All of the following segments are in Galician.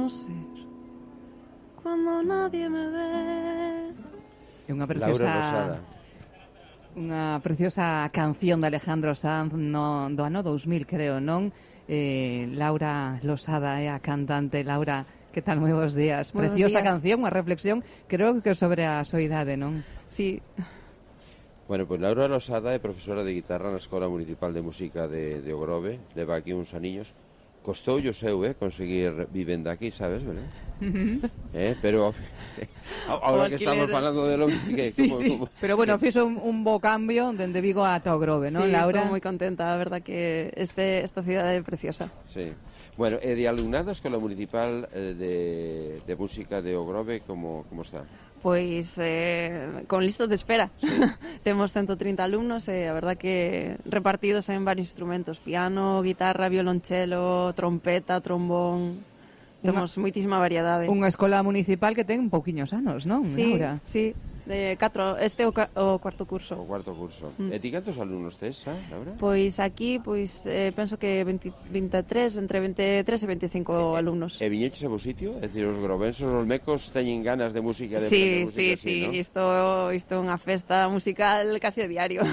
conocer cuando nadie me ve. É unha preciosa... Laura Losada. Unha preciosa canción de Alejandro Sanz do ano 2000, creo, non? Laura Losada é a cantante. Laura, que tal? Moi bons días. Buenos Preciosa días. canción, unha reflexión, creo que sobre a soidade, non? Sí. Bueno, pues Laura Losada é profesora de guitarra na Escola Municipal de Música de Ogrove, leva aquí uns aniños. Costoulle o seu, conseguir vivenda aquí, sabes, verdad? Pero ahora que estamos falando de lo que... Sí, sí. Pero bueno, fixo un bo cambio dende Vigo ata Ogrove, non, Sí, Laura? estou moi contenta, a verdad que esta cidade é preciosa. Sí. Bueno, e de alumnado a Escola Municipal de Música de Ogrove, como está? Pois con listas de espera. Sí. Temos 130 alumnos e a verdad que repartidos en varios instrumentos: piano, guitarra, violonchelo, trompeta, trombón. Temos moitísima variedade. Unha escola municipal que ten pouquiños anos, non, sí, Laura? Sí, de 4, este é o cuarto curso. O cuarto curso. E ti cantos alumnos tes, Laura? Pois aquí, penso que 23, entre 23 e 25 alumnos. E viñeches a vos sitio? É dicir, os grovensos, os mecos teñen ganas de música, de sí, música, sí, ¿no? Isto é unha festa musical casi a diario.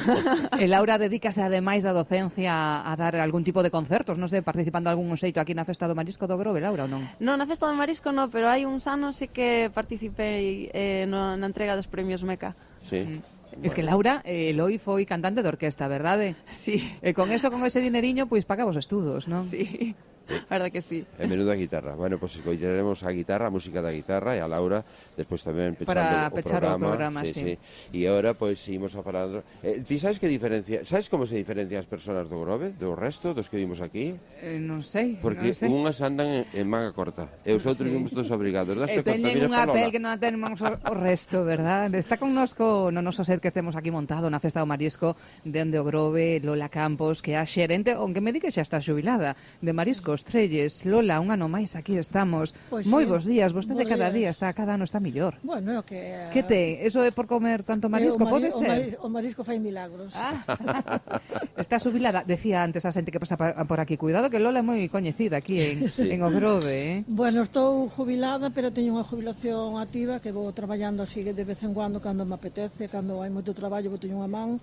E Laura dedícase ademais da docencia a dar algún tipo de concertos, non sei, participando algún xeito aquí na Festa do Marisco do Grove, Laura, ou non? Non, na Festa do Marisco non, pero hai uns anos sí que participei na entrega dos premios Meca. Sí. Bueno. Es que Laura, Eloi foi cantante de orquesta, verdade? Sí. E con eso, con ese dineriño, pois pagaba os estudos, non? Sí. A verdad que sí. E menuda guitarra. Bueno, pues escoitaremos a guitarra, a música da guitarra, e a Laura despois tamén pechando o programa. Sí. E agora, pois, seguimos a falar... ti sabes que diferencia... Sabes como se diferencian as persoas do Grove, do resto, dos que vimos aquí? Non sei. Porque unhas andan en manga corta, e os outros vimos todos obrigados. E teñen unha pel que non temos o resto, verdad? Está connosco no noso ser que estemos aquí montado na Festa do Marisco dende o Grove, Lola Campos, que é a xerente, aunque me di que xa está xubilada, de Mariscos Trelles. Lola, un ano máis aquí estamos. Pois moi sí, bons días, vostede cada días. cada ano está millor. Bueno, que... Que te? Eso é por comer tanto marisco, pode ser? O marisco fai milagros. Está xubilada, decía antes a xente que pasa por aquí. Cuidado que Lola é moi coñecida aquí en Ogrove, Bueno, estou jubilada, pero teño unha jubilación activa que vou traballando así de vez en cuando, cando me apetece, cando hai moito traballo, vou teño unha man,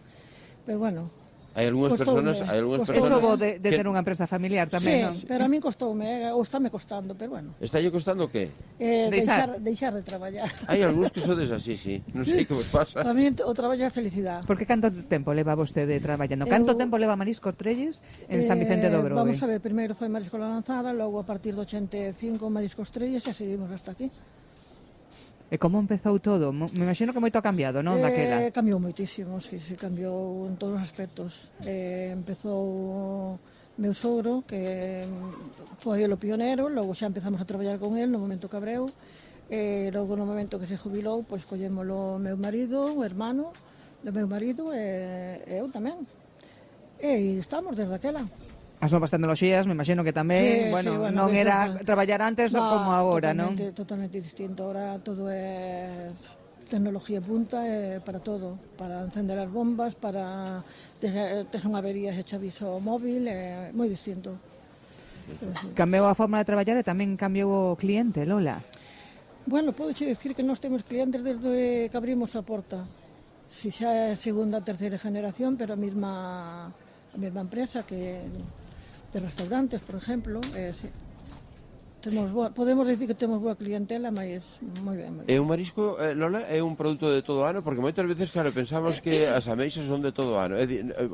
pero bueno... Hai algunhas persoas... Eso vou de ter unha empresa familiar tamén, non? Sí, pero a min costoume, ou estáme costando, pero bueno. Estálle costando o que? Deixar de traballar. Hai algúns que sodes así, sí. Non sei que vos pasa. Para mí o traballo é felicidade. Porque canto tempo leva vostede traballando? Canto tempo leva Marisco Trelles en San Vicente do Grove? Vamos a ver, primeiro foi Marisco La Lanzada, logo a partir do 85 Mariscos Trelles e seguimos hasta aquí. E como empezou todo? Me imagino que moito ha cambiado, non, daquela? Cambiou moitísimo, sí, cambiou en todos os aspectos. Empezou meu sogro, que foi o pionero, logo xa empezamos a traballar con el no momento que abreu, logo no momento que se jubilou, pois collémolo meu marido, o hermano do meu marido e eu tamén. E estamos desde aquela. As novas tecnoloxías, me imagino que tamén, bueno, non era traballar antes como agora, non? Totalmente distinto. Ahora todo é tecnología punta para todo, para encender as bombas, para tes unha avería e echa aviso móvil, é moi distinto. Cambiou a forma de traballar e tamén cambiou o cliente, Lola. Bueno, podo dicir que nós temos clientes desde que abrimos a porta. Si xa é segunda, terceira generación, pero a mesma empresa que de restaurantes, por exemplo, sí. Podemos dicir que temos boa clientela, mas moi ben. E o marisco, Lola, é un produto de todo o ano, porque moitas veces, claro, pensamos que as ameixas son de todo o ano.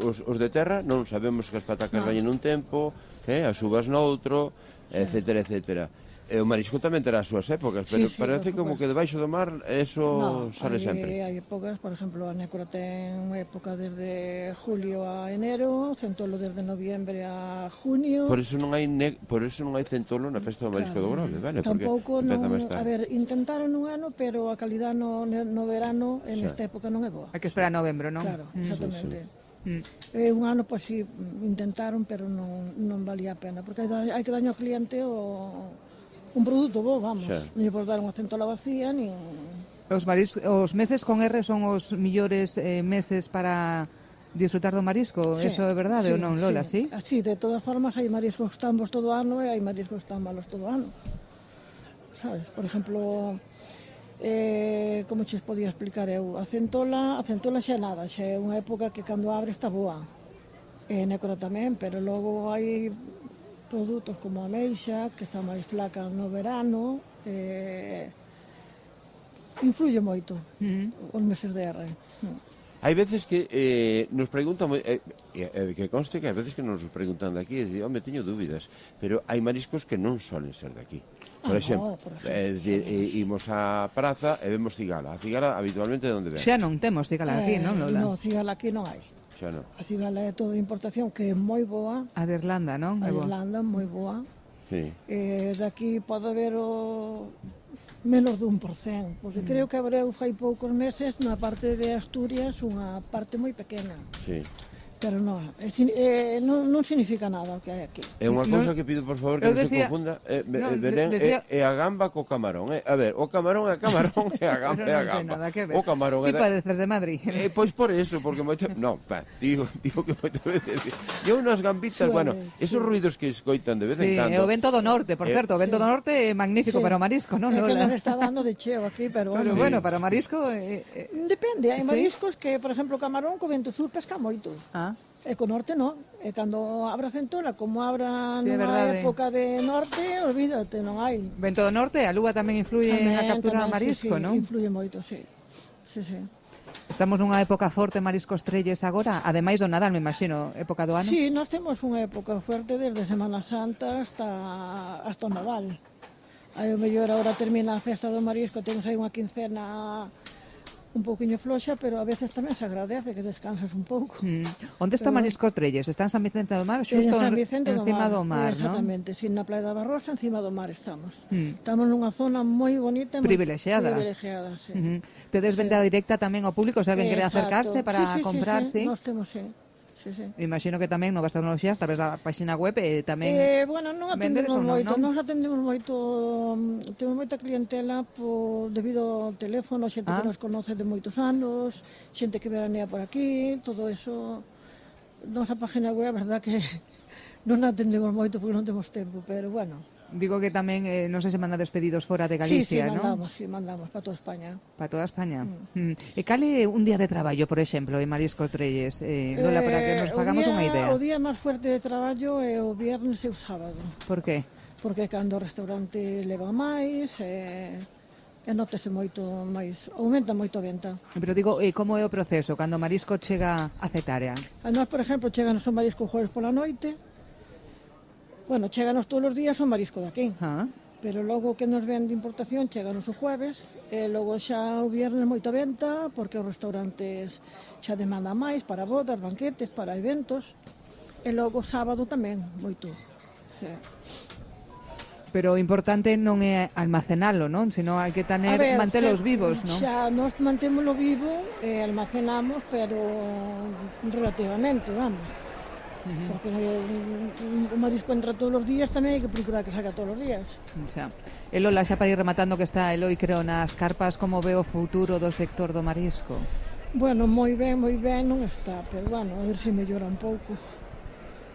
Os de terra non sabemos que as patacas veñen un tempo, as uvas noutro, etcétera, etcétera. E o marisco tamén terá as súas épocas, pero parece como que debaixo do mar eso sale sempre. Hai épocas, por exemplo, a nécora ten época desde julio a enero, centolo desde noviembre a junio. Por eso non hai centolo na Festa do Marisco do Grove, vale? Tampouco a ver, intentaron un ano, pero a calidad no verano en esta época non é boa. Hai que esperar a novembro, non? Claro, exactamente. Un ano, pois si, intentaron, pero non valía a pena, porque hai que daño ao cliente un produto bo, vamos. Non lle podes dar unha centola vacía, nin... Os meses con R son os millores meses para disfrutar do marisco, eso é verdade ou non, Lola, sí? Sí, de todas formas hai mariscos que están bons todo o ano e hai mariscos que están malos todo o ano. sabes? Por exemplo, como xes podía explicar eu, a centola xa nada, xa é unha época que cando abre está boa. Nécora tamén, pero logo hai produtos como a ameixa, que está máis flaca no verano, influye moito os meses de R. Hai veces que nos preguntan, que conste que hai veces que nos preguntan de aquí, e dicen, home, teño dúbidas, pero hai mariscos que non solen ser de aquí. Por exemplo, imos á praza e vemos cigala. A cigala habitualmente de onde ven? Xa non temos cigala aquí, non, Lola? Non, cigala aquí non hai. Xa non. A cigala é toda importación, que é moi boa. A de Irlanda, non? A de Irlanda, moi boa. Sí. Daqui pode haber menos de 1%, porque creo que abreu fai poucos meses na parte de Asturias unha parte moi pequena. Sí. Pero non significa nada o que hai aquí. É unha cousa que pido, por favor, que non se confunda. Belén, é a gamba co camarón. A ver, o camarón é camarón e a gamba é a gamba. O camarón é... Ti pareces de Madrid. Pois por eso, porque moito... Non, digo que moitas veces... E unhas gambitas, bueno, esos ruidos que escoitan de vez en cando... Sí, o vento do norte, por certo. O vento do norte é magnífico para o marisco, non? É que nos está dando de cheo aquí, pero... Pero bueno, para o marisco... Depende, hai mariscos que, por exemplo, o camarón co vento sur pesca moito. E co norte non, e cando abra centola, como abra nunha época de norte, olvídate, non hai. Vento do norte, a lúa tamén influye na captura de marisco, non? Influye moito, sí. Estamos nunha época forte mariscos trelles agora, ademais do Nadal, me imagino, época do ano? Sí, nós temos unha época forte desde Semana Santa hasta o Nadal. Aí o mellor agora termina a festa do marisco, temos aí unha quincena un pouquiño floxa, pero a veces tamén se agradece que descansas un pouco. Onde está Marisco Trelles? Está en San Vicente do Mar? Xusto encima do mar, non? Exactamente, na Praia da Barrosa, encima do mar estamos. Estamos nunha zona moi bonita e privilexiada. Sí. Tedes venda directa tamén ao público, se alguén quere acercarse para comprar, sí? Nós temos, sí. Imagino que tamén novas tecnoloxías, a través da página web tamén... Bueno, non atendemos moito, non atendemos moito, temos moita clientela debido ao teléfono, xente que nos conoce de moitos anos, xente que veranea por aquí, todo eso. Nosa página web, a verdad que non atendemos moito porque non temos tempo, pero bueno... Digo que tamén, non sei se manda despedidos fora de Galicia, non? Sí, mandamos para toda España. Para toda España. E cale un día de traballo, por exemplo, en Marisco Trelles, Lola, para que nos fagamos unha idea? O día máis fuerte de traballo é o viernes e o sábado. Por qué? Porque cando o restaurante leva máis, nótese moito máis, aumenta moito a venta. Pero digo, como é o proceso, cando o marisco chega a Cetarea? A nós, por exemplo, cheganos o marisco jueves pola noite. Bueno, cheganos todos os días o marisco de aquí. Pero logo que nos ven de importación cheganos o jueves, e logo xa o viernes moita venta, porque os restaurantes xa demandan máis para bodas, banquetes, para eventos, e logo o sábado tamén, moito. Sí. Pero o importante non é almacenalo, non? Sino hai que mantelos vivos, non? Xa nos mantémolo vivo e almacenamos, pero relativamente, vamos. Porque o marisco entra todos os días, tamén hai que procurar que saca todos os días. E Lola, xa para ir rematando que está Eloi, creo, nas carpas, como ve o futuro do sector do marisco? Bueno, moi ben non está, pero bueno, a ver se mellora un pouco.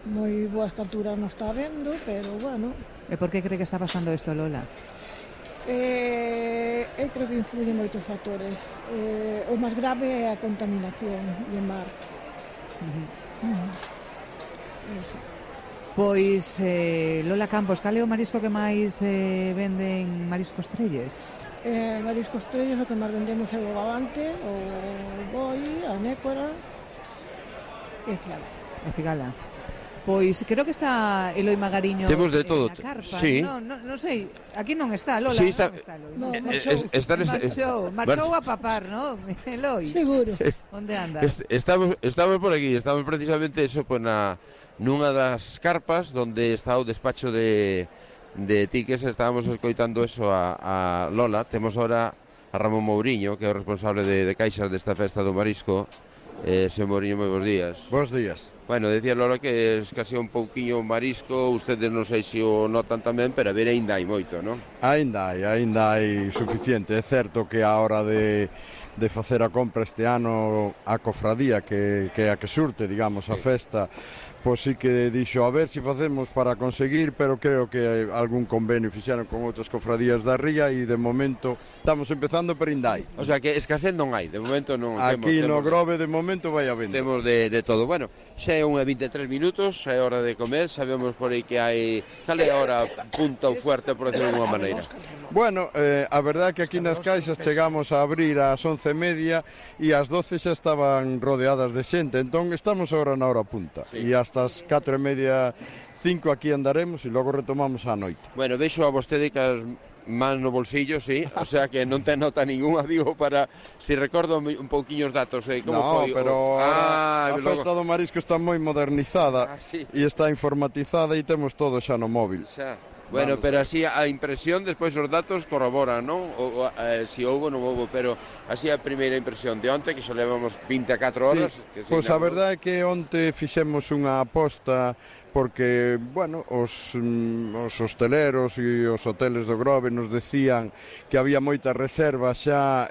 Moi boas capturas non está vendo, pero bueno. E por que cree que está pasando isto, Lola? Eu creo que influyen moitos factores. O máis grave é a contaminación do mar. Pois, Lola Campos, cal é o marisco que máis venden Mariscos Trelles? Mariscos Trelles, o que máis vendemos é o gabante, o boi, a nécora e a cigala. Pois creo que está Eloi Magariño. Temos de todo. Carpa. Sí. Non sei, aquí non está Lola. Sí, está. Marchou a papar, non? Eloi. Seguro. Onde andas? Estamos por aquí, estamos precisamente eso, pues, nunha das carpas onde está o despacho de tickets. Estábamos escoitando eso a Lola. Temos ahora a Ramón Mouriño, que é o responsable de caixas desta festa do marisco. Señor Mouriño, moi bons días. Bons días. Bueno, decía Lola que escasea un pouquiño o marisco, ustedes non sei se o notan tamén, pero a ver, ainda hai moito, non? Ainda hai suficiente. É certo que a hora de facer a compra este ano a cofradía que é a que surte, digamos, a festa, pois sí que dixo a ver se facemos para conseguir, pero creo que algún convenio fixeron con outras cofradías da ría e de momento estamos empezando por Indai. O sea que escasez non hai, de momento non. Aquí no Grove de momento vai a venda. Temos de todo. Bueno, xa é unha 23 minutos, xa é hora de comer, sabemos por aí que hai... Cal é a hora punta ou fuerte, por decirlo de unha maneira? Bueno, a verdade é que aquí nas caixas chegamos a abrir ás 11:30 e ás 12 xa estaban rodeadas de xente, entón estamos agora na hora punta. Sí. E hasta as 4:30, 5 aquí andaremos e logo retomamos a noite. Bueno, vexo a vostede que as man no bolsillo, sí, o sea que non ten nota ninguna, digo, para, si recordo un pouquiño os datos, como foi? Pero a festa do marisco está moi modernizada sí. E está informatizada e temos todo xa no móvil. Xa. Bueno, vamos, pero así a impresión, despois os datos corroboran, non? Si houbo, non houbo, pero así a primeira impresión de onte, que xa levamos 24 horas. Sí. Pois a verdade é que onte fixemos unha aposta porque, bueno, os hosteleros e os hoteles do Grove nos decían que había moitas reservas xa,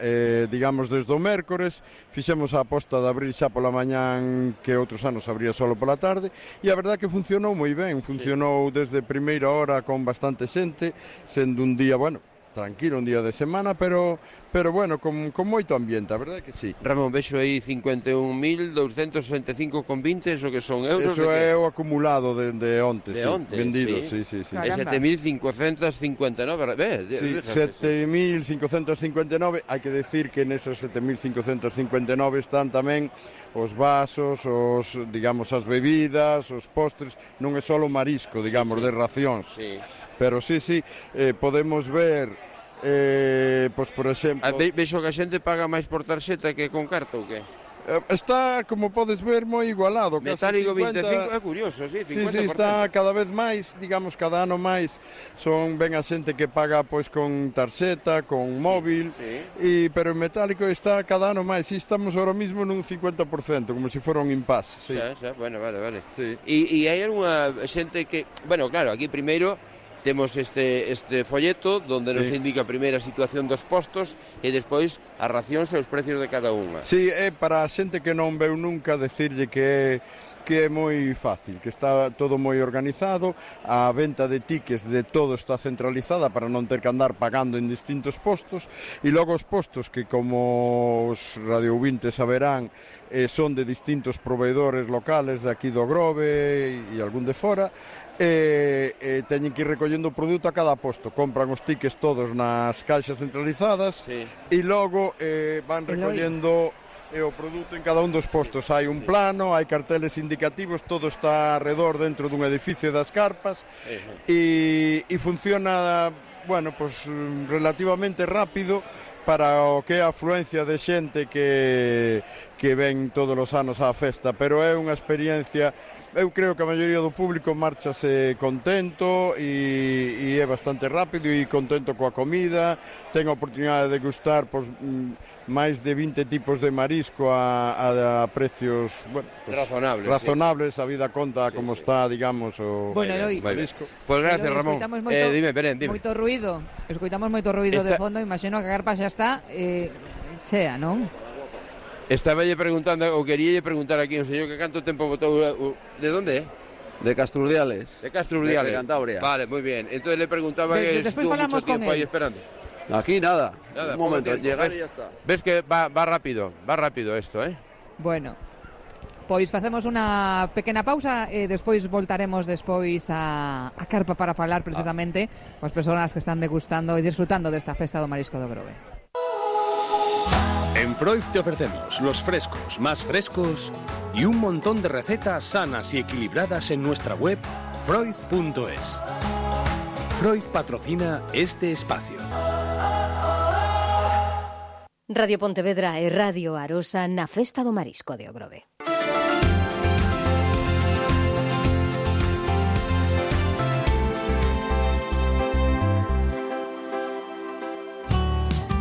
digamos, desde o mércores. Fixemos a aposta de abrir xa pola mañán, que outros anos abría solo pola tarde, e a verdade é que funcionou moi ben, funcionou desde primeira hora con bastante xente, sendo un día, bueno, tranquilo, un día de semana, pero bueno, con moito ambiente, a verdade é que sí. Ramón, vexo aí 51.265,20, eso que son euros? Eso é o acumulado de onte, de onte, vendido, sí. E 7.559, sí, 7.559, hai que decir que neses 7.559 están tamén os vasos, digamos, as bebidas, os postres, non é só o marisco, digamos, de racións. Sí. Pero sí, podemos ver, pois por exemplo... Vexo que a xente paga máis por tarxeta que con carta ou que? Está, como podes ver, moi igualado. Metálico 25, é curioso, sí, 50%. Sí, está cada vez máis, digamos, cada ano máis. Ben a xente que paga pois con tarxeta, con móvil, sí. Pero en metálico está cada ano máis. E estamos ahora mismo nun 50%, como se fora un impasse. Sí. Xa, bueno, vale. Sí. E hai algunha xente que... Bueno, claro, aquí primeiro... Temos este folleto onde nos indica a primeira situación dos postos e despois as racións e os precios de cada unha. Sí, é para a xente que non veu nunca decirlle que é moi fácil, que está todo moi organizado, a venta de tickets de todo está centralizada para non ter que andar pagando en distintos postos, e logo os postos que, como os radioouvintes saberán, son de distintos proveedores locales de aquí do Grove e algún de fora, teñen que ir recollendo o produto a cada posto, compran os tickets todos nas caixas centralizadas, sí. E logo van recollendo o produto en cada un dos postos. Hai un plano, hai carteles indicativos, todo está alrededor dentro dun edificio das carpas, e funciona, bueno, pues relativamente rápido para o que é a afluencia de xente que ven todos os anos á festa, pero é unha experiencia. Eu creo que a maioría do público marchase contento e é bastante rápido e contento coa comida. Ten a oportunidade de gustar máis de 20 tipos de marisco a precios, bueno, razonables, a vida conta como está, digamos, o marisco. Pues gracias, Ramón. Dime. Moito ruido. Escoitamos moito ruido de fondo, imagino que a carpa xa está chea, non? Estaballe preguntando, ou queríalle preguntar aquí ao señor que canto tempo botou... ¿De onde é? De Castrurdiales. De Castrurdiales. De Cantabria. Vale, moi bien. Entonces le preguntaba que estuvo mucho tiempo aí esperando. Aquí nada. Un momento, llegar e ya está. Ves que va rápido esto, Bueno, pois facemos unha pequena pausa e despois voltaremos despois a carpa para falar precisamente coas persoas que están degustando e disfrutando desta festa do marisco do Grove. En Freud te ofrecemos los frescos más frescos y un montón de recetas sanas y equilibradas en nuestra web freud.es. Freud patrocina este espacio. Radio Pontevedra e Radio Arosa na Festa do Marisco de Grove.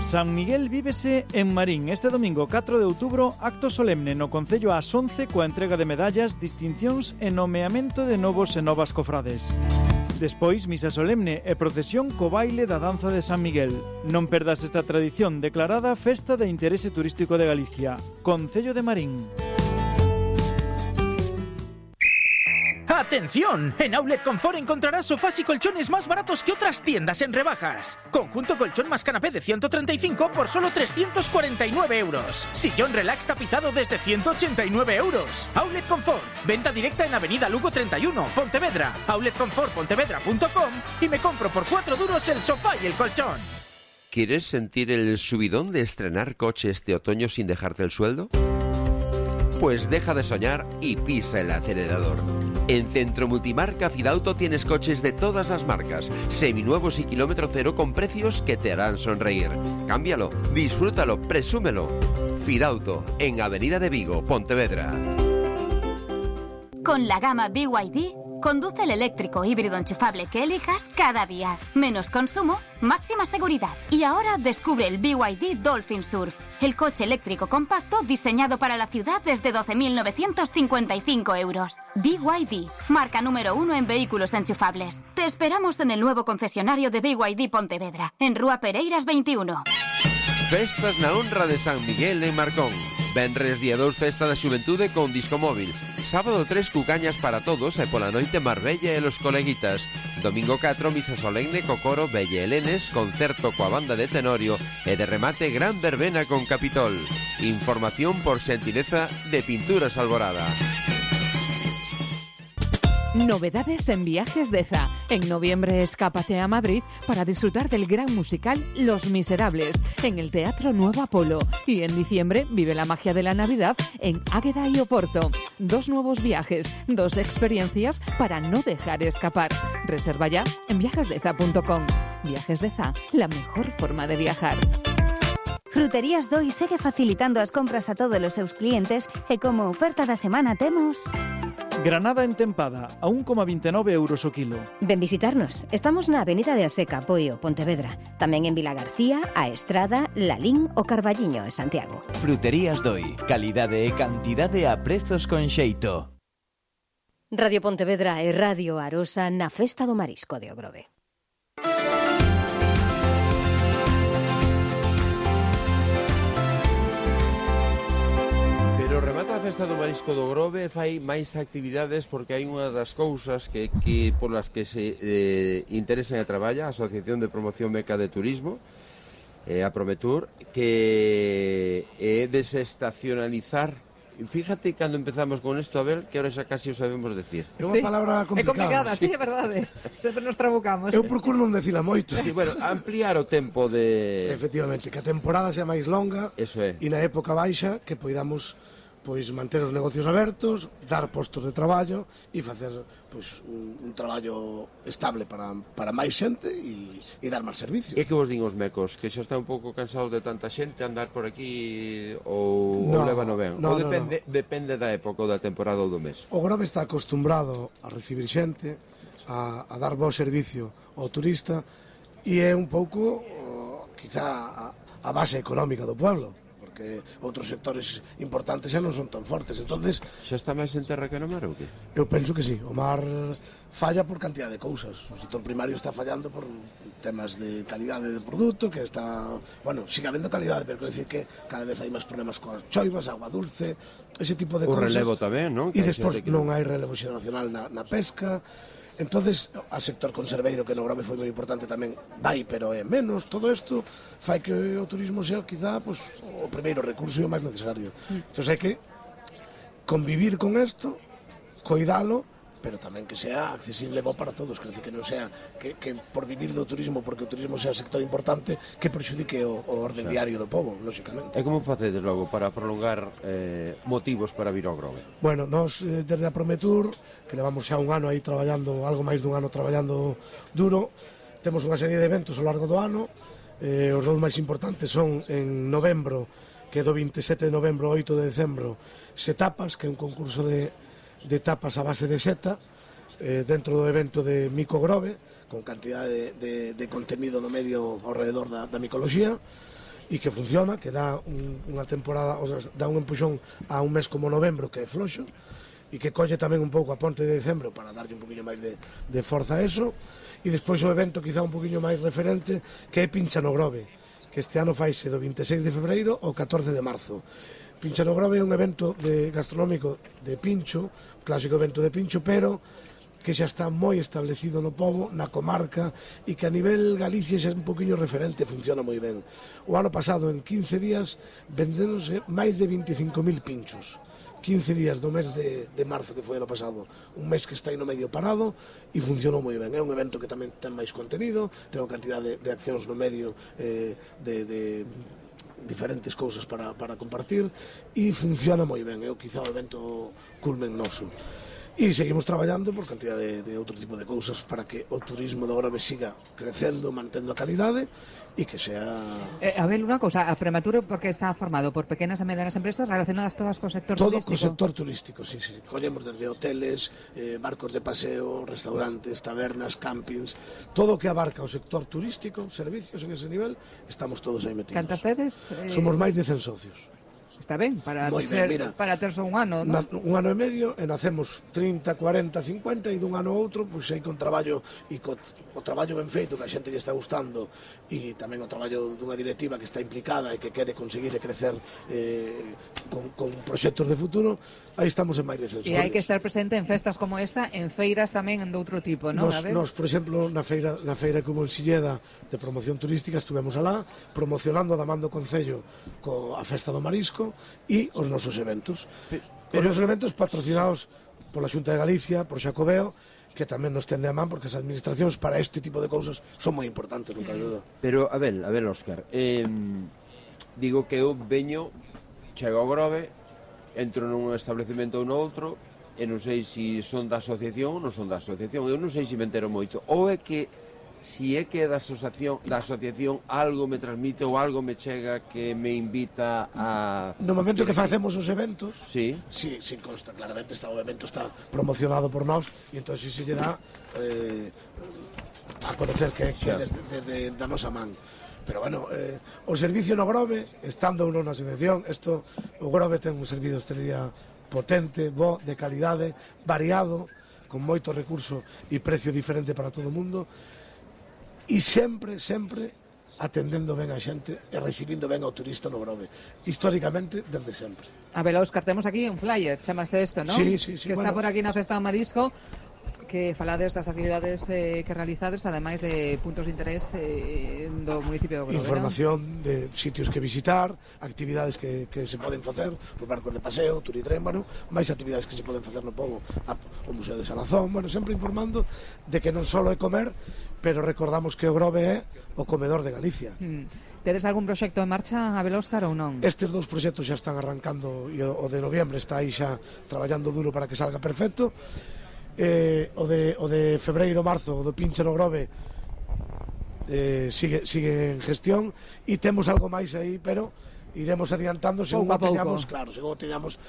San Miguel vívese en Marín. Este domingo 4 de outubro, acto solemne no Concello ás 11 coa entrega de medallas, distincións e nomeamento de novos e novas cofrades. Despois, misa solemne e procesión co baile da danza de San Miguel. Non perdas esta tradición declarada Festa de Interese Turístico de Galicia. Concello de Marín. ¡Atención! En Outlet Confort encontrarás sofás y colchones más baratos que otras tiendas en rebajas. Conjunto colchón más canapé de 135 por solo 349 euros. Sillón relax tapizado desde 189 euros. Outlet Confort. Venta directa en Avenida Lugo 31, Pontevedra. outletconfortpontevedra.com y me compro por 4 duros el sofá y el colchón. ¿Quieres sentir el subidón de estrenar coche este otoño sin dejarte el sueldo? Pues deja de soñar y pisa el acelerador. En Centro Multimarca Fidauto tienes coches de todas las marcas, seminuevos y kilómetro cero con precios que te harán sonreír. Cámbialo, disfrútalo, presúmelo. Fidauto, en Avenida de Vigo, Pontevedra. Con la gama BYD, conduce el eléctrico híbrido enchufable que elijas cada día. Menos consumo, máxima seguridad. Y ahora descubre el BYD Dolphin Surf, el coche eléctrico compacto diseñado para la ciudad desde 12.955 euros. BYD, marca número 1 en vehículos enchufables. Te esperamos en el nuevo concesionario de BYD Pontevedra, en Rúa Pereiras 21. Festas na honra de San Miguel en Marcón. Venres día 2 festa da xuventude con disco móvil. Sábado 3 cucañas para todos e pola noite Marbella e los coleguitas. Domingo 4 misa solemne co coro Belle Helenes, concerto coa banda de Tenorio e de remate gran verbena con Capitol. Información por xentileza de Pinturas Alborada. Novedades en Viajes Deza. En noviembre escápate a Madrid para disfrutar del gran musical Los Miserables en el Teatro Nuevo Apolo. Y en diciembre vive la magia de la Navidad en Águeda y Oporto. 2 nuevos viajes, 2 experiencias para no dejar escapar. Reserva ya en viajesdeza.com. Viajes Deza, la mejor forma de viajar. Fruterías Doi segue facilitando as compras a todos os seus clientes e como oferta da semana temos... Granada entempada, a 1,29 euros o kilo. Ven visitarnos. Estamos na Avenida de Aseca, Poio, Pontevedra. Tamén en Vila García, A Estrada, Lalín o Carballiño, en Santiago. Fruterías Doi. Calidade e cantidade a prezos con xeito. Radio Pontevedra e Radio Arosa na Festa do Marisco de Ogrove. Pero remata a Festa do Marisco do Grove, fai máis actividades porque hai unha das cousas que polas que se interesan e traballa a Asociación de Promoción Meca de Turismo, a Prometur, que é desestacionalizar. Fíjate cando empezamos con isto, Abel, que ahora xa casi o sabemos decir. É unha palabra complicada. É complicada, sí, é verdade. Sempre nos trabucamos. Eu procuro non decila moito. Sí, bueno, ampliar o tempo de... Efectivamente, que a temporada sea máis longa. Eso é. E na época baixa que poidamos manter os negocios abertos, dar postos de traballo e facer un traballo estable para máis xente e dar máis servicios. E que vos din os mecos? Que xa está un pouco cansados de tanta xente andar por aquí ou levano ben? Ou depende da época ou da temporada ou do mes? O Grove está acostumbrado a recibir xente, a dar bo servicio ao turista e é un pouco, quizá, a base económica do pueblo, que outros sectores importantes xa non son tan fortes. Entonces, xa está máis en terra que no mar ou que? Eu penso que sí. O mar falla por cantidad de cousas. O sector primario está fallando por temas de calidade de produto, que está... Bueno, sigue habendo calidade, pero quero dicir que cada vez hai máis problemas coas choivas, agua dulce, ese tipo de cousas. O relevo tamén, non? E despois non hai relevo xeracional na pesca. Entonces, a sector conserveiro, que no Grove foi moi importante tamén, vai, pero é menos. Todo isto fai que o turismo sea, quizá, o primeiro recurso e o máis necesario. Entón, hai que convivir con isto, coidalo, pero tamén que sea accesible bo para todos, quer dizer, que non sea que por vivir do turismo, porque o turismo sea sector importante, que perxudique o orden diario do pobo, lóxicamente. E como facedes logo para prolongar motivos para vir ao Grove? Bueno, nós desde a Prometur, que levamos xa un ano aí traballando, algo máis dun ano traballando duro, temos unha serie de eventos ao largo do ano. Os dous máis importantes son en novembro, que é do 27 de novembro ao 8 de decembro, Setapas, que é un concurso de tapas a base de seta, dentro do evento de Mico Grove, con cantidade de contenido no medio ao redor da micoloxía, e que funciona, que dá unha temporada, o sea, dá un empuxón a un mes como novembro, que é floxo, e que colle tamén un pouco a ponte de decembro para darlle un poquinho máis de forza a eso. E despois o evento quizá un poquinho máis referente, que é Pincha no Grove, que este ano faise do 26 de febreiro ao 14 de marzo. Pincha no Grove é un evento gastronómico de pincho, clásico evento de pincho, pero que xa está moi establecido no pobo, na comarca, e que a nivel Galicia xa é un poquinho referente, funciona moi ben. O ano pasado, en 15 días, vendéronse máis de 25.000 pinchos. 15 días do mes de marzo, que foi ano pasado, un mes que está aí no medio parado, e funcionou moi ben. É un evento que tamén ten máis contenido, ten unha cantidad de accións no medio de diferentes cousas para compartir, e funciona moi ben. É quizá o evento culmen noso. E seguimos traballando por cantidad de outro tipo de cousas para que o turismo de Grove siga crecendo, mantendo a calidade e que sea... Abel, unha cousa, a Premature porque está formado por pequenas e medianas empresas relacionadas todas co sector turístico? Todo co sector turístico, sí. Collemos desde hoteles, barcos de paseo, restaurantes, tabernas, campings, todo o que abarca o sector turístico, servicios en ese nivel, estamos todos aí metidos. Cantas tedes? Somos máis de 100 socios. Está ben, para terse un ano, non? Un ano e medio, e nacemos 30, 40, 50, e dun ano a outro, pois aí con traballo, e o traballo ben feito, que a xente lle está gustando, e tamén o traballo dunha directiva que está implicada e que quere conseguir crecer con proxectos de futuro, aí estamos en máis de 100. E hai que estar presente en festas como esta, en feiras tamén de outro tipo, non? Nos, por exemplo, na feira que hubo en Silleda de promoción turística, estuvemos alá, promocionando da man do Concello a Festa do Marisco, e os nosos eventos. Os nosos eventos patrocinados pola Xunta de Galicia, por Xacobeo, que tamén nos tende a man, porque as administracións para este tipo de cousas son moi importantes, nunca de duda. Pero, a ver, Óscar, digo que eu veño, chego ao Grove, entro nun establecemento ou no outro, e non sei se son da asociación ou non son da asociación, eu non sei se me entero moito, ou é que si é que da asociación algo me transmite ou algo me chega que me invita a... No momento que facemos os eventos, sí consta, claramente o evento está promocionado por nós, e entón se lle dá a conocer que desde da nosa man. Pero bueno, o servicio no Grove, estando uno na asociación, o Grove ten un servicio de hostelería potente, bo, de calidade, variado, con moito recurso e precio diferente para todo o mundo, e sempre atendendo ben a xente e recibindo ben ao turista no Grove, históricamente desde sempre. A ver, Óscar, temos aquí un flyer, chamase isto, non? Sí. Que está por aquí na Festa do Marisco, que falades das actividades que realizades, ademais de puntos de interés do municipio do Grove. Información de sitios que visitar, actividades que se poden facer, os barcos de paseo, turitrén, máis actividades que se poden facer no pobo, o Museo de Salazón, sempre informando de que non só é comer, pero recordamos que o Grove é o comedor de Galicia. Tedes algún proxecto en marcha, Abel, Óscar, ou non? Estes dous proxectos xa están arrancando, e o de noviembre está aí xa traballando duro para que salga perfecto. O de febreiro, marzo, o do Pinche no Grove sigue en gestión, e temos algo máis aí, pero iremos adiantando según o teñamos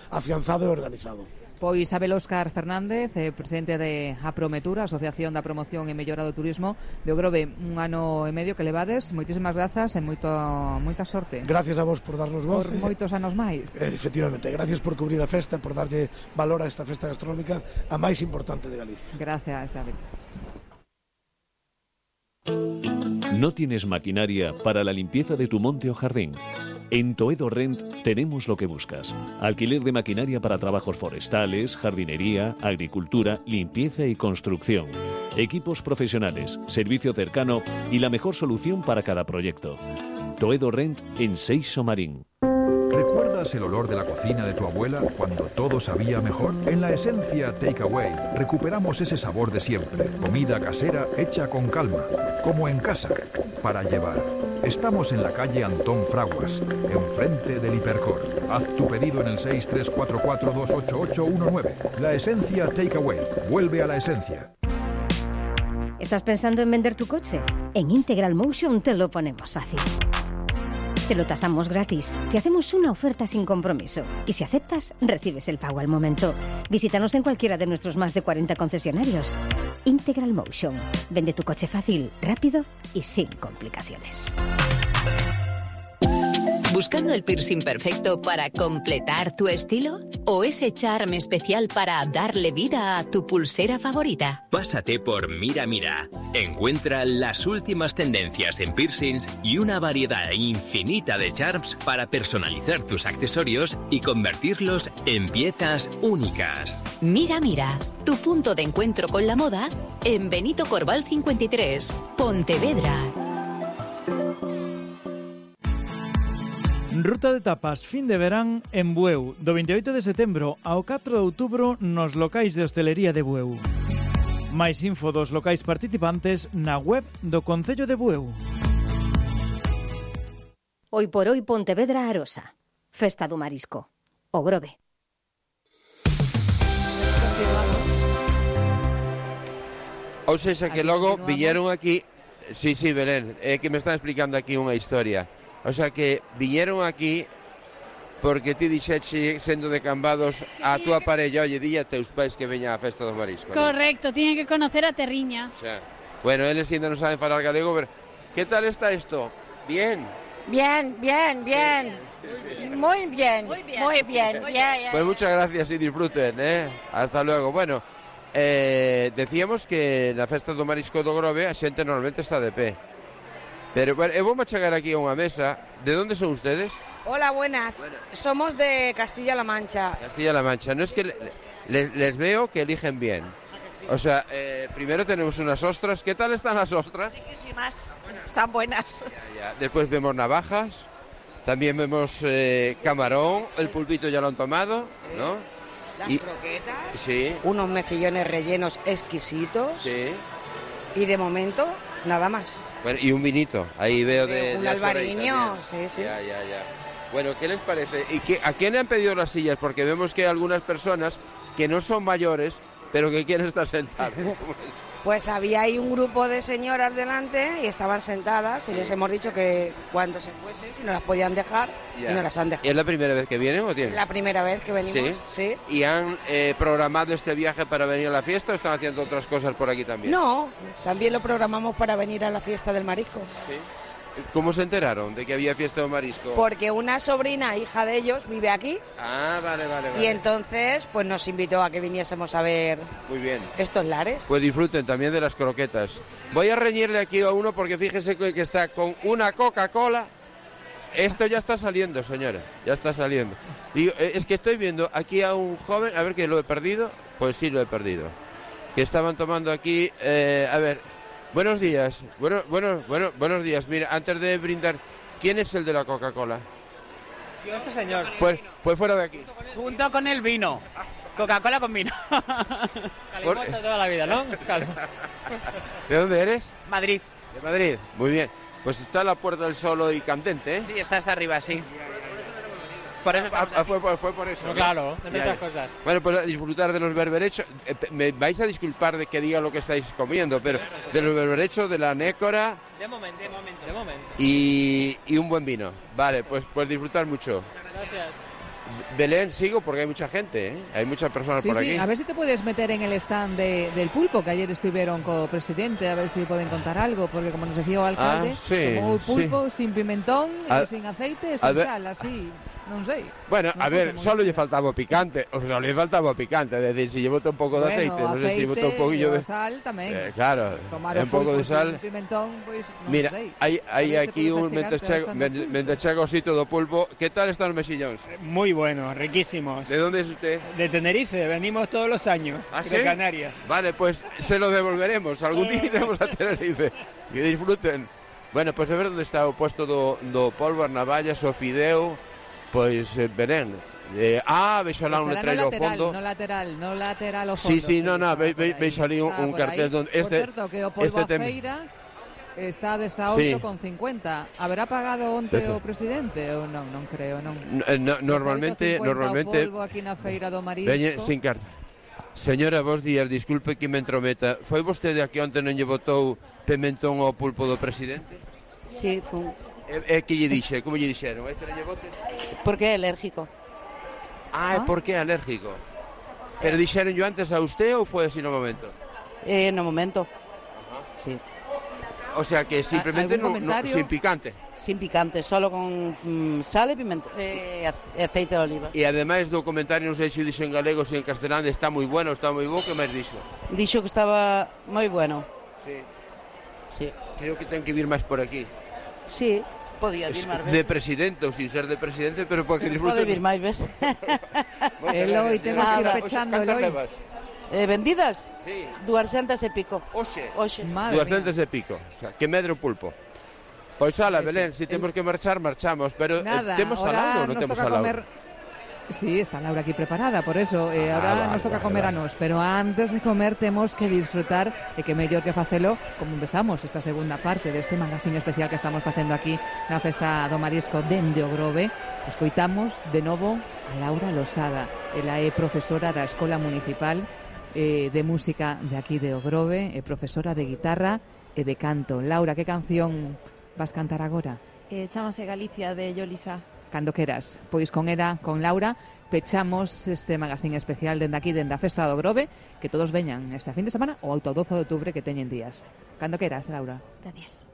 afianzado e organizado. Pois Abel Óscar Fernández, presidente de Aprometura, Asociación da Promoción e Mellora do Turismo de Grove, un ano e medio que levades, moitísimas grazas e moita sorte. Gracias a vos por darnos voz. Por moitos anos máis. Efectivamente, gracias por cubrir a festa, por darlle valor a esta festa gastronómica, a máis importante de Galicia. Gracias, Abel. ¿No tienes maquinaria para la limpieza de tu monte o jardín? En Toedo Rent tenemos lo que buscas. Alquiler de maquinaria para trabajos forestales, jardinería, agricultura, limpieza y construcción. Equipos profesionales, servicio cercano y la mejor solución para cada proyecto. Toedo Rent en Seixo Marín. ¿Recuerdas el olor de la cocina de tu abuela cuando todo sabía mejor? En la Esencia Takeaway recuperamos ese sabor de siempre. Comida casera hecha con calma, como en casa, para llevar. Estamos en la calle Antón Fraguas, enfrente del Hipercor. Haz tu pedido en el 634428819. La Esencia Takeaway. Vuelve a la esencia. ¿Estás pensando en vender tu coche? En Integral Motion te lo ponemos fácil. Te lo tasamos gratis, te hacemos una oferta sin compromiso y si aceptas, recibes el pago al momento. Visítanos en cualquiera de nuestros más de 40 concesionarios. Integral Motion. Vende tu coche fácil, rápido y sin complicaciones. ¿Buscando el piercing perfecto para completar tu estilo? ¿O ese charme especial para darle vida a tu pulsera favorita? Pásate por Mira Mira. Encuentra las últimas tendencias en piercings y una variedad infinita de charms para personalizar tus accesorios y convertirlos en piezas únicas. Mira Mira, tu punto de encuentro con la moda en Benito Corval 53, Pontevedra. Ruta de tapas fin de verán en Bueu, do 28 de setembro ao 4 de outubro nos locais de hostelería de Bueu. Mais info dos locais participantes na web do Concello de Bueu. Hoy por hoy Pontevedra Arosa. Festa do Marisco. O Grove. Ou seja, que logo viñeron aquí... Sí, Belén, é que me están explicando aquí unha historia. O sea, que viñeron aquí porque ti dixeche, sendo de Cambados, a túa parella, oye, dille a teus pais que veña á festa dos mariscos. Correcto, tienen que conocer a Terriña. O sea, bueno, eles ainda non saben falar galego, pero que tal está isto? Bien? Bien. Sí. Muy bien. Yeah. Pues muchas gracias y disfruten, Hasta luego. Bueno, decíamos que na festa do marisco do Grove a xente normalmente está de pé. Pero bueno, vamos a chegar aquí a unha mesa. ¿De dónde son ustedes? Hola, buenas. Somos de Castilla-La Mancha. Castilla-La Mancha. No es que les veo que eligen bien. Sí. O sea, primero tenemos unas ostras. ¿Qué tal están las ostras? Riquísimas. Están buenas. Ya. Después vemos navajas. También vemos camarón. El pulpito ya lo han tomado, sí. ¿No? Las croquetas. Sí. Unos mejillones rellenos exquisitos. Sí. Y de momento, nada más. Bueno, y un vinito, ahí veo un albariño, sí. Ya. Bueno, ¿qué les parece? ¿Y a quién le han pedido las sillas? Porque vemos que hay algunas personas que no son mayores, pero que quieren estar sentadas. Pues había ahí un grupo de señoras delante y estaban sentadas y les hemos dicho que cuando se fuesen, si no las podían dejar, y no las han dejado. ¿Y es la primera vez que vienen o tienen? La primera vez que venimos, sí. ¿Y han programado este viaje para venir a la fiesta o están haciendo otras cosas por aquí también? No, también lo programamos para venir a la fiesta del marisco. Sí. ¿Cómo se enteraron de que había fiesta de marisco? Porque una sobrina, hija de ellos, vive aquí. Ah, vale. Y entonces, pues nos invitó a que viniésemos a ver. Muy bien. Estos lares. Pues disfruten también de las croquetas. Voy a reñirle aquí a uno porque fíjese que está con una Coca-Cola. Esto ya está saliendo, señora. Ya está saliendo. Digo, es que estoy viendo aquí a un joven, a ver que lo he perdido. Pues sí, lo he perdido. Que estaban tomando aquí, a ver... Buenos días. Buenos días. Mira, antes de brindar, ¿quién es el de la Coca-Cola? Yo, este señor. Pues fuera de aquí. Junto con el vino. Coca-Cola con vino. Calimocha toda la vida, ¿no? ¿De dónde eres? Madrid. De Madrid. Muy bien. Pues está la Puerta del Sol hoy candente, ¿eh? Sí, está hasta arriba, sí. Por eso fue por eso. No, claro, entre otras cosas. Bueno, pues a disfrutar de los berberechos. Me vais a disculpar de que diga lo que estáis comiendo, pero de los berberechos, de la nécora. De momento. Y un buen vino. Vale, pues disfrutar mucho. Gracias. Belén, sigo porque hay mucha gente, ¿eh? Hay muchas personas por aquí. Sí, a ver si te puedes meter en el stand del pulpo, que ayer estuvieron con el presidente, a ver si pueden contar algo, porque como nos decía el alcalde, como el pulpo sin pimentón, sin aceite, sin sal, así... Non sei. Bueno, a ver, solo lle faltaba picante, es decir, si llevo un pouco de aceite, non sei se llevo un poquillo de sal tamén. Claro, un pouco de sal. Pimentón, pois, non mira, sei. hai aquí un mentre chega o sitio do pulpo. Que tal están os mexillóns? Muy buenos, riquísimos. ¿De dónde es usted? De Tenerife, venimos todos los años, de Canarias. Vale, pues se lo devolveremos, algún día iremos a Tenerife. Que disfruten. Bueno, pues a ver onde está o puesto do polvo, as navallas, o fideo. Pois, Belén, veixo lá un letreiro ao fondo. No lateral ao fondo. Sí, veixo ali un cartel donde Por certo, que o polvo a feira está a 18,50. Haberá pagado onte o presidente ou non? Non creo, non. Normalmente o polvo aquí na feira do marisco. Veñe sin carta. Señora, vos días, disculpe que me entrometa. Foi vostede aquí onte non lle botou pimentón ao pulpo do presidente? Sí, foi. Que lle dixe? Como lle dixeron? Este lle bote? Porque é alérgico. Porque é alérgico. Pero dixeron yo antes a usted ou foi así no momento? No momento. Sí. O sea que simplemente sin picante. Sin picante, solo con sal e pimento, aceite de oliva. E ademais do comentario, non sei se dixo en galego, se en castelán, está moi bueno, está moi bo, que máis dixo? Dixo que estaba moi bueno. Sí. Creo que ten que vir máis por aquí. Sí, podía vir máis veces. De presidente ou sin ser de presidente, pero para que disfrute. Pode vir máis veces. Eloi, temos que ir pechando, Eloi. Vendidas? Sí. 200 e pico. Oxe. 200 e pico. O sea, que medre o pulpo. Pois ala, Belén, se temos que marchar, marchamos. Pero temos salado ou non temos salado? Sí, está Laura aquí preparada, por eso ahora nos toca comer a nos, pero antes de comer temos que disfrutar e que mellor que facelo como empezamos esta segunda parte deste magazín especial que estamos facendo aquí na Festa do Marisco dende o Grove. Escoitamos de novo a Laura Losada, ela é profesora da Escola Municipal de Música de aquí de o Grove, é profesora de guitarra e de canto. Laura, que canción vas cantar agora? Chámase Galicia de Yolisa. Cando queras, pois con ela, con Laura, pechamos este magazín especial dende aquí, dende a Festa do Grove, que todos veñan este fin de semana ou ata o 12 de outubro que teñen días. Cando queras, Laura. Gracias.